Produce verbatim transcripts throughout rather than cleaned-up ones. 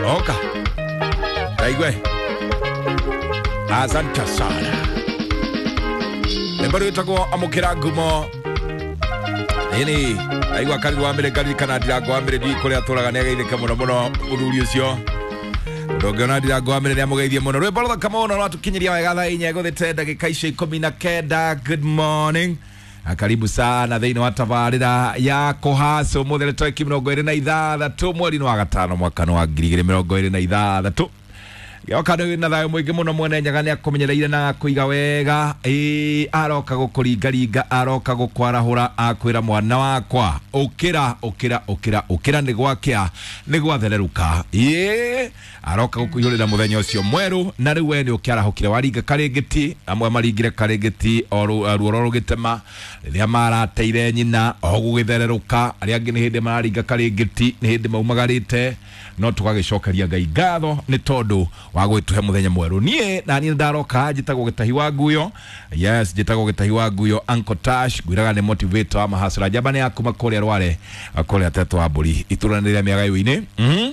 Oka Taigwe. Asante sana. Rwĩmbo rwĩtagwo amũkĩra ngumo. Ĩni aigua kariru wa mbere karirikana ndirango wa mbere ndiũĩ kũrĩa atũraga nĩ ageithĩke mũno mũno mũthuri ũcio. Ũndũ ũngĩ ndirango wa mbere nĩ amũgeithie mũno. Rwĩmbo rũthaka mũno rwatũkinyĩria wega thaa inya gũthĩte ndagĩka icio ikũmi na kenda. Good morning. Karibu sana thĩinĩ wa tabarĩra ya kũhaca ũmũthĩ nĩ tarĩki mĩrongo ĩrĩ na ithathatũ mweri-inĩ wa gatano mwaka wa ngiri igĩrĩ mĩrongo ĩrĩ na ithathatũ. Gĩoka nĩ na thayũ mũingĩ mũno mwene Nyaga nĩ akũmenyereire na akũiga wega. Ĩĩ aroka gũkũringaringa, aroka gũkwarahũra, akwĩra mwana wakwa ũkĩra ũkĩra ũkĩra ũkĩra, nĩ gwakĩa nĩ gwathererũka. Ĩĩ aroka gũkũihũrĩra mũthenya ũcio mwerũ, na rĩu we nĩ ũkĩarahũkire waringa karĩngĩti, amwe maringire karĩngĩti o ruoro rũgĩtema rĩrĩa marateire nyina o gũgĩthererũka, arĩa angĩ nĩ hĩndĩ mararinga karĩngĩti, nĩ hĩndĩ maumagarĩte, no tũgagĩcokeria Ngai ngatho nĩ tondũ wa gwĩtũhe mũthenya mwerũ. Niĩ na niĩ ndaroka njĩtagwo Gĩtahi wa Nguyo. Yes, njĩtagwo Gĩtahi wa Nguyo Uncle Tash, ngwĩraga nĩ motivator wa mahasra njamba nĩ ya kuma kũrĩa Rware kũrĩa Tetwa wa Mbũri itũra rĩa Mĩagayo-inĩ. Mhm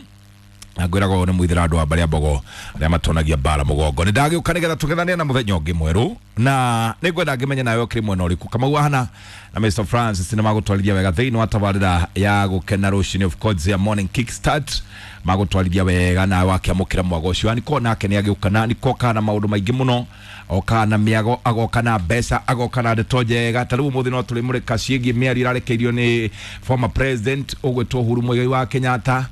na ngwĩraga ũyũ nĩ mwithĩra andũ a mbarĩ ya Mbogo arĩa matonagia mbara mũgongo. Nĩ ndagĩũka nĩgetha tũgethanie na mũthenya ũngĩ mwerũ, na nĩ ngwenda ngĩmenye nawe ũkĩrĩ mwena ũrĩkũ. Kamau Ahana na Mister Francis nĩ magũtwarithia wega thĩinĩ wa tabarĩra ya gũkena rũcinĩ, of course ya morning kickstart, magũtwarithia wega nawe wakĩamũkĩra mwago ũcio. Niko nake nĩ agĩũka na niko kana maũndũ maingĩ mũno, oka na mĩago, agoka na mbeca, agoka na ndeto njega. Ta rĩu ũmũthĩ no tũrĩmũrĩka ciĩgiĩ mĩario ĩrarekeirio nĩ former president ũgwĩtwo Uhuru Muigai wa Kenyatta,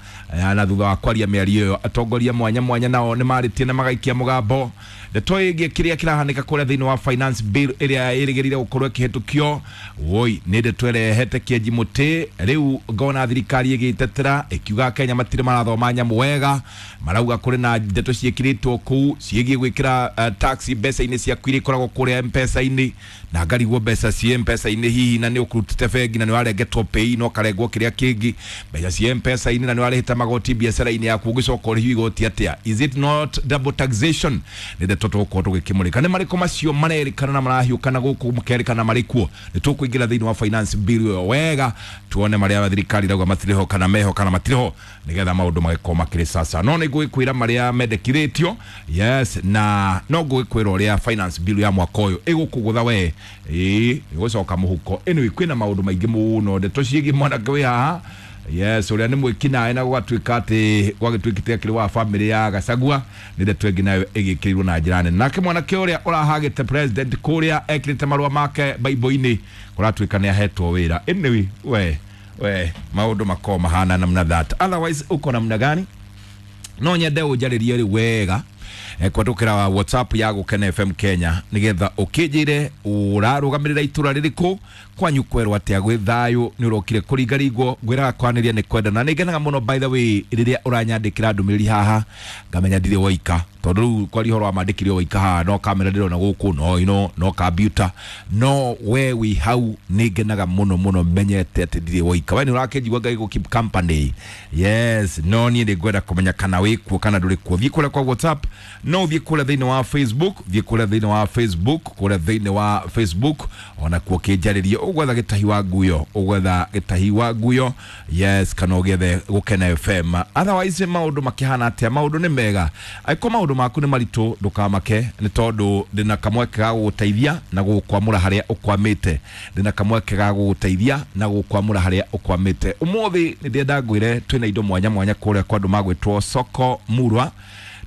na thutha wa kwaria mĩario ĩyo atongoria mwanya mwanya nao nĩ marĩtie na magaikia mũgambo. Ndeto ĩgiĩ kĩrĩa kĩrahanĩka kũrĩa thĩinĩ wa finance bill ĩrĩa ĩrĩgĩrĩire gũkorwo ĩkĩhĩtũkio, woi nĩ ndeto ĩrehete kĩenji mũtĩ. Rĩu ngona thirikari ĩgĩtetera ĩkiuga Kenya matirĩ marathoma nyamũ wega, marauga kũrĩ na ndeto ciĩkĩrĩtwo kũu ciĩgiĩ gwĩkĩra uh, tax mbeca-inĩ ciaku iria ikoragwo kũrĩa M-Pesa-inĩ, na ngarigwo mbeca ciĩ M-Pesa-inĩ hihi na nĩ ũkũrutĩte bengi na nĩ warengetwo pay no karengwo kĩrĩa kĩngĩ, mbeca ciĩ M-Pesa-inĩ na nĩ warĩhĩte magoti biacara-inĩ yaku ũgĩcoka ũrĩhio igoti atĩa? Is it not double taxation? Nĩ ndeto tũgũkorwo tũgĩkĩmũrĩka. Nĩ marĩkũ macio marerĩkana na marahiũkana gũkũ makerĩkana marĩ kuo? Nĩ tũkũingĩra thĩinĩ wa finance bill ĩyo wega tuone marĩa thirikari irauga matirĩ ho kana meho kana matirĩ ho, nĩgetha maũndũ magĩkorwo makĩrĩ sasa. No nĩ ngũgĩkwĩra marĩa mendekithĩtio, yes, na no ngũgĩkwĩra ũrĩa finance bill ya mwaka ũyũ ĩgũkũgũtha we, ĩĩ ĩgũcoka mũhuko. Anyway, kwĩna maũndũ maingĩ mũno, ndeto ciĩgiĩ mwanake wĩ haha, yes, ũrĩa nĩ mwĩkinaĩ na gũgatuĩka atĩ gwagĩtuĩkĩte akĩrĩ wa family ya Gachagua, nĩ ndeto ĩngĩ nayo ĩgĩkĩrirwo na njĩra nene. Nake mwanake ũrĩa ũrahagĩte president kũrĩa ekĩrĩte marũa make Bible-inĩ kũratuĩka nĩ ahetwo wĩra. Anyway, we we maũndũ makorwo mahana namna that. Otherwise uko namna gani? No nyende ũnjarĩrie rĩu wega kwatũkĩra WhatsApp ya Gũkena F M Kenya nĩgetha ũkĩnjĩre ũrarũgamĩrĩra itũra rĩrĩkũ, kwanyu kwerwo atĩa gwĩ thayũ, nĩ ũrokire kũringaringwo, ngwĩraga kwanĩria nĩ kwenda. Na nĩ ngenaga mũno by the way rĩrĩa ũranyandĩkĩra ndũmĩrĩri haha ngamenya ndirĩ woika, tondũ rĩu kwaria ũhoro wa mandĩkire woika haha no kamera ndĩrona gũkũ, no ino no computer, no we wĩ hau nĩ ngenaga mũno mũno menyete atĩ ndirĩ woika. We nĩ ũrakĩnjigua Ngai gũ keep company, yes, no niĩ nĩ ngwenda kũmenya kana wĩ kuo kana ndũrĩ kuo. Thiĩ kũrĩa kwa WhatsApp, no thiĩ kũrĩa thĩinĩ wa Facebook, thiĩ kũrĩa thĩinĩ wa Facebook, kũrĩa thĩinĩ wa Facebook ona kuo kĩnjarĩrie ũgwetha Gĩtahi wa Nguyo, ũgwetha Gĩtahi wa Nguyo, yes, kana ũgethe Gũkena F M. Otherwise maũndũ makĩhana atĩa? Maũndũ nĩ mega. Angĩkorwo maũndũ maku nĩ maritũ ndũkamake, nĩ tondũ ndĩna kamweke ga gũgũteithia na gũgũkwamũra harĩa ũkwamĩte. Ndĩna kamweke ga gũgũteithia na gũgũkwamũra harĩa ũkwamĩte. Ũmũthĩ nĩ ndĩrenda ngwĩre twĩna indo mwanya mwanya kũrĩa kwa andũ magwĩtwo Soko Murwa.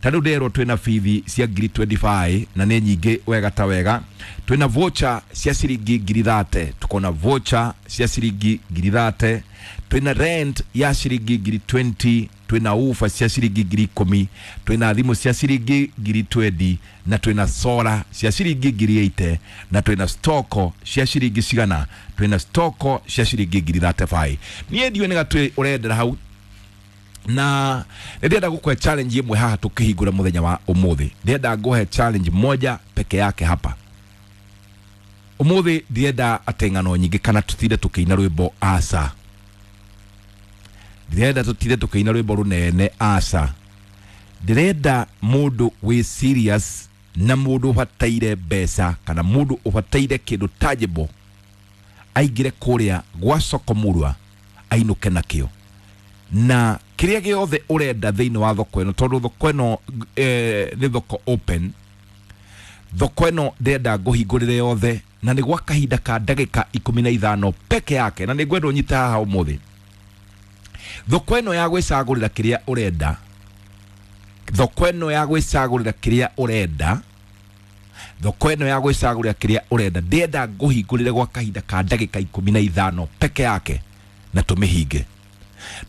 Ta rĩu ndĩrerwo twĩna bithi cia ngiri twenty-five na nĩ nyingĩ wega ta wega. Twĩna voucher cia ciringi ngiri thate, tukona voucher cia ciringi ngiri thate, twĩna rent ya ciringi ngiri twenty, twĩna ufa cia ciringi ngiri ikũmi, twĩna thimũ cia ciringi ngiri twenty, na twĩna solar cia ciringi ngiri eighty, na twĩna stoko cia ciringi cigana, twĩna stoko cia ciringi ngiri thirty-five. Niĩ ndiũĩ nĩ gatwĩ ũrendera hau, na ndĩrenda gũkũhe challenge ĩmwe haha tũkĩhingũra mũthenya wa ũmũthĩ. Ndĩrenda ngũhe challenge moja peke yake hapa ũmũthĩ. Ndĩrenda atĩ ng'ano nyingĩ kana tũtinde tũkĩina rwĩmbo aca, ndĩrenda tũtinde tũkĩina rwĩmbo rũnene aca. Ndĩrenda mũndũ wĩ serious na mũndũ ũbataire mbeca kana mũndũ ũbataire kĩndũ tangible aingĩre kũrĩa gwa Soko Murwa ainũke nakĩo. Na Kĩrĩa gĩothe ũrenda thĩinĩ wa thoko ĩno, tondũ thoko ĩno eh, nĩ thoko open, thoko ĩno ndĩrenda ngũhingũrĩre yothe na nĩ gwa kahinda ka ndagĩka ikũmi na ithano peke yake, na nĩ ngwenda ũnyite haha ũmũthĩ. Thoko ĩno ya gwĩcagũrĩra kĩrĩa ũrenda, thoko ĩno ya gwĩcagũrĩra kĩrĩa ũrenda, thoko ĩno ya gwĩcagũrĩra kĩrĩa ũrenda, ndĩrenda ngũhingũrĩre gwa kahinda ka ndagĩka ikũmi na ithano peke yake na tũmĩhinge.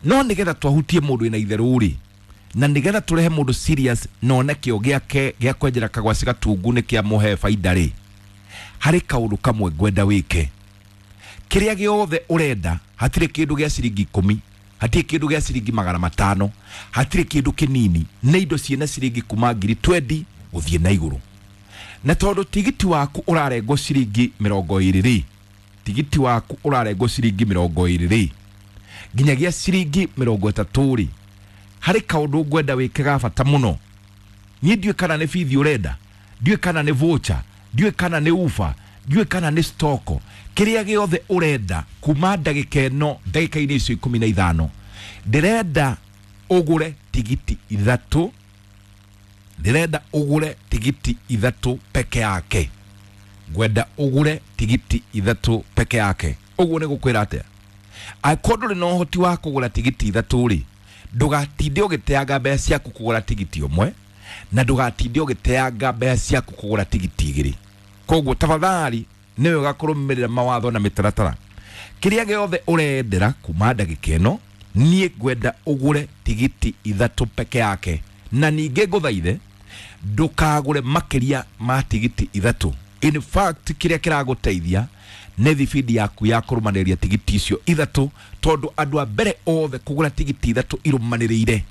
No nĩgetha twahutie mũndũ wĩna itherũ rĩ, na nĩgetha tũrehe mũndũ serious na one kĩo gĩake gĩa kwenjera kagwaci gatungu nĩ kĩamũhe baida rĩ, harĩ kaũndũ kamwe ngwenda wĩke. Kĩrĩa gĩothe ũrenda, hatirĩ kĩndũ gĩa ciringi ikũmi, hatirĩ kĩndũ gĩa ciringi magana matano, hatirĩ kĩndũ kĩnini, nĩ indo ciĩna ciringi kuma ngiri twendi gũthiĩ na igũrũ. Na tondũ tigiti waku ũrarengwo ciringi mĩrongo ĩrĩ rĩ, tigiti waku ũrarengwo ciringi mĩrongo ĩrĩ rĩ, nginyagia ciringi mĩrongo ĩtatũ rĩ, harĩ kaũndũ ngwenda wĩke ga bata mũno. Niĩ ndiũĩ kana nĩ bithi ũrenda, ndiũĩ kana nĩ voucher, ndiũĩ kana nĩ ufa, ndiũĩ kana nĩ stoko. Kĩrĩa gĩothe ũrenda kuma ndagĩka ĩno, ndagĩka-inĩ icio ikũmi na ithano, ndĩrenda ũgũre tigiti ithatũ, ndĩrenda ũgũre tigiti ithatũ peke yake. Ngwenda ũgũre tigiti ithatũ peke yake. Ũguo nĩ gũkwĩra atĩa? Angĩkorwo ndũrĩ na ũhoti wa kũgũra tigiti ithatũ rĩ, ndũgatinde ũgĩteanga mbeca ciaku kũgũra tigiti ũmwe, na ndũgatinde ũgĩteanga mbeca ciaku kũgũra tigiti igĩrĩ. Koguo tafadhali nĩ wega kũrũmĩrĩra mawatho na mĩtaratara. Kĩrĩa gĩothe ũrendera kuma ndagĩka ĩno, niĩ ngwenda ũgũre tigiti ithatũ peke yake, na ningĩ ngũthaithe ndũkagũre makĩria ma tigiti ithatũ. In fact, kĩrĩa kĩragũteithia nĩ thibindi yaku ya kũrũmanĩrĩria tigiti icio ithatũ, tondũ andũ a mbere othe kũgũra tigiti ithatũ irũmanĩrĩire,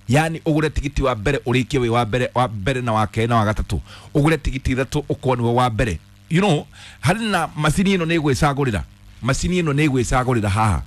yani ũgũre tigiti wa mbere ũrĩkie wĩ wa mbere, wa mbere na wa kerĩ na wa gatatũ, ũgũre tigiti ithatũ ũkorwo nĩwe wa mbere. You know, harĩ na macini ĩno nĩ ĩgwĩcagũrĩra, macini ĩno nĩ ĩgwĩcagũrĩra haha.